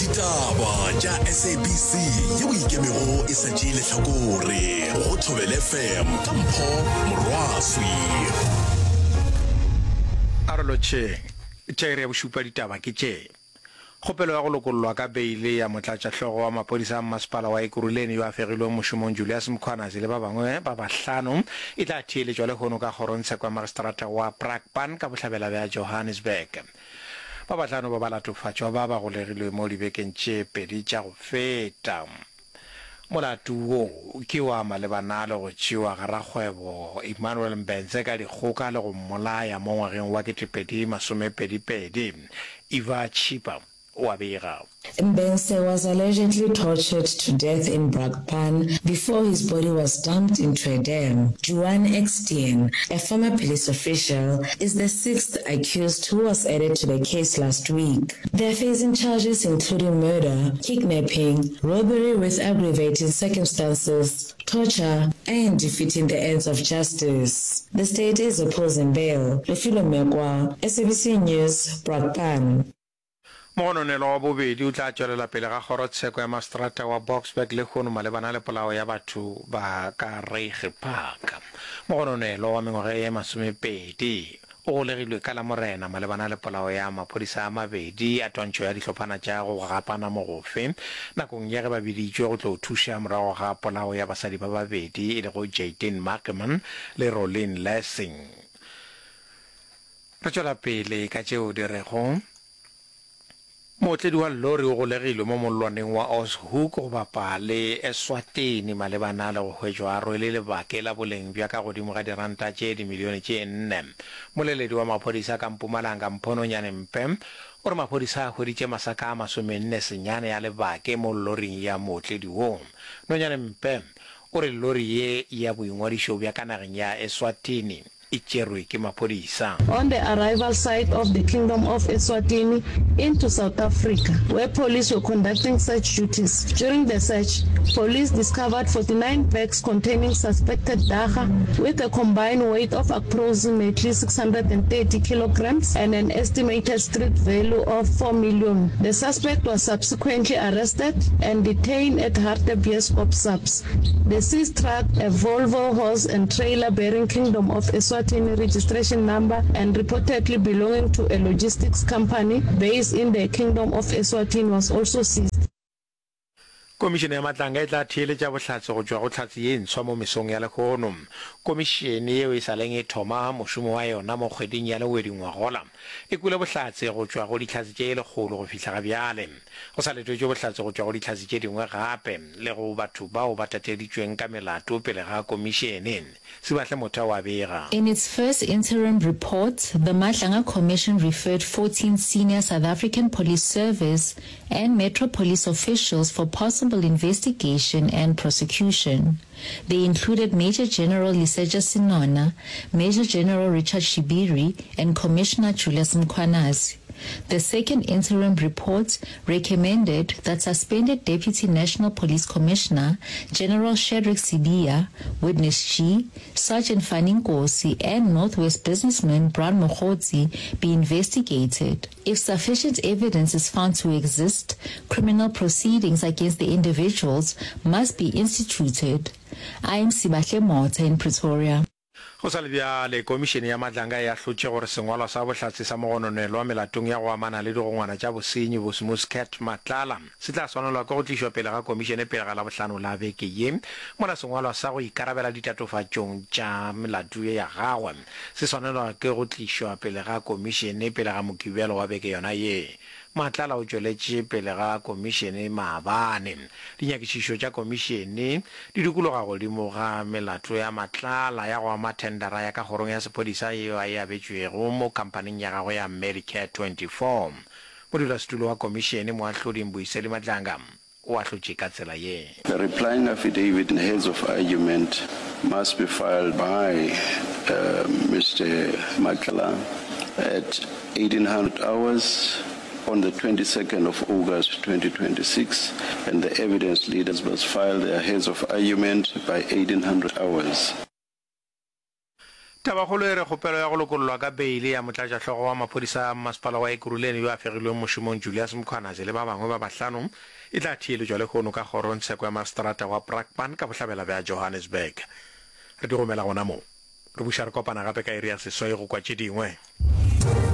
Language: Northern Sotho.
Ditaba tša SABC yeo e ikemego e sa tšee lehlakore go Thobela FM ka Mpho Morwaswi. A re lotšheng. Tša iri ya bošupa ditaba ke tše. Kgopelo ya go lokollwa ka beile ya motlatšahlogo wa maphodisa a mmasepala wa Ekurhuleni yo a fegilweng mošomong Julius Mkhwanazi le ba bangwe ba bahlano e tla theeletšwa lehono ka kgorongtsheko ya magistrata wa Brakpan ka bohlabela bja Johannesburg. Ba bahlano ba balatofatšwa ba ba golegilwe mo dibekeng tše pedi tša go feta. Molato wo ke wa malebana le go tšewa ga rakgwebo Emmanuel Mbense ka dikgoka le go mmolaya mo ngwageng wa 2022. Eva Chipa o a bega. Mbense was allegedly tortured to death in Brakpan before his body was dumped into a dam. Juan Eksteen, a former police official, is the sixth accused who was added to the case last week. They are facing charges including murder, kidnapping, robbery with aggravating circumstances, torture, and defeating the ends of justice. The state is opposing bail. Lefilo Mekwa, SABC News, Brakpan. Mogononelwa wa bobedi o tla tšwelela pele ga kgorotsheko ya maseterata wa Boksburg lehono malebana le polao ya batho ba ka Reiger Park. Mogononelwa wa mengwaga ye masomepedi o golegilwe ka Lamorena malebana le polao ya maphodisa a mabedi a twantšho ya dihlophana tša go gapana mogofe nakong ya ge ba biditšwe go tlo thuša morago ga polao ya basadi ba babedi e lego Jayden Markman le Rolene Lessing. Re tšwela pele ka tšeo di rego, Mootledi wa llori o golegilwe mo mollwaneng wa Oshoek go bapa le Eswatini malebana le go hwetšwa a rwele lebake la boleng bja ka godimo ga diranta tše dimilione tše nne. Moleledi wa maphodisa ka Mpumalanga Mpho Nonyane Mpe o re maphodisa a hweditše masaka a masomenne senyane a lebake mo lloring ya mootledi wo. Nonyane Mpe o re llori ye ya boingwadišo bja ka nageng ya Eswatini e tšerwe ke maphodisa. On the arrival site of the Kingdom of Eswatini into South Africa, where police were conducting search duties. During the search, police discovered 49 bags containing suspected dagga with a combined weight of approximately 630 kilograms and an estimated street value of 4 million. The suspect was subsequently arrested and detained at Hartbeespoort SAPS. The seized truck, a Volvo horse and trailer bearing Kingdom of Eswatini registration number and reportedly belonging to a logistics company based in the Kingdom of Eswatini was also seized. Komišene ya Matlanga e tla theeletša bohlatse go tšwa go hlatse ye ntshwa mo mesong ya lehono. Komišene yeo e sa leng e thoma mošomo wa yona mo kgweding ya Lewedi ngwagola, e kwele bohlatse go tšwa go dihlatse tše lekgolo go fihla ga bjale. Go sa letetšwe bohlatse go tšwa go dihlatse tše dingwe gape le go batho bao ba tateditšweng ka melato pele ga komišene, Sibahle Motha o a bega. In its first interim report, the Madlanga Commission referred 14 senior South African Police Service and Metro Police officials for possible investigation and prosecution. They included Major General Lesetja Senona, Major General Richard Shibiri and Commissioner Julius Mkhwanazi. The second interim report recommended that suspended Deputy National Police Commissioner General Shadrack Sibiya, Witness G, Sergeant Fanny Nkosi and North West businessman Brown Mogotsi be investigated. If sufficient evidence is found to exist, criminal proceedings against the individuals must be instituted. I am Sibahle Motha in Pretoria. Go sa le bjale, Komišene ya Madlanga e ahlotše gore sengwalwa sa bohlatse sa mogononelwa melatong ya go amana le digongwana tša bosenyi Bosmus Cat Matlala se tla swanelwa ke go tlišwa pele ga komišene pele ga Labohlano la beke ye, mola sengwalwa sa go ikarabela ditatofatšong tša melato ye ya gagwe se swanelwa ke go tlišwa pele ga komišene pele ga Mokibelo wa beke yona ye. Matlala o tšweletše pele ga komišene maabane. Dinyakišišo tša komišene di dikologa godimo ga melato ya Matlala ya go ama thendara ya ka kgorong ya sephodisa yeo a e abetšwego mo khamphaning ya gagwe ya Medicare 24. Modulasetulo wa komišene, Moahlodi Mbuyiseli Madlanga, o ahlotše ka tsela ye. The replying affidavit and heads of argument must be filed by Mister Matlala at 1800 hours on the 22nd of August 2026 and the evidence leaders must file their heads of argument by 1800 hours. Tabakgolo e re kgopelo ya go lokollwa ka beile ya motlatšahlogo wa maphodisa a mmasepala wa Ekurhuleni yo a fegilweng mošomong Julius Mkhwanazi le ba bangwe ba bahlano e tla theeletšwa lehono ka kgorongtsheko ya maseterata wa Brakpan ka bohlabela bja Johannesburg. Re di gomela gona mo. Re buša re kopana gape ka iri ya seswai go kwa tše dingwe.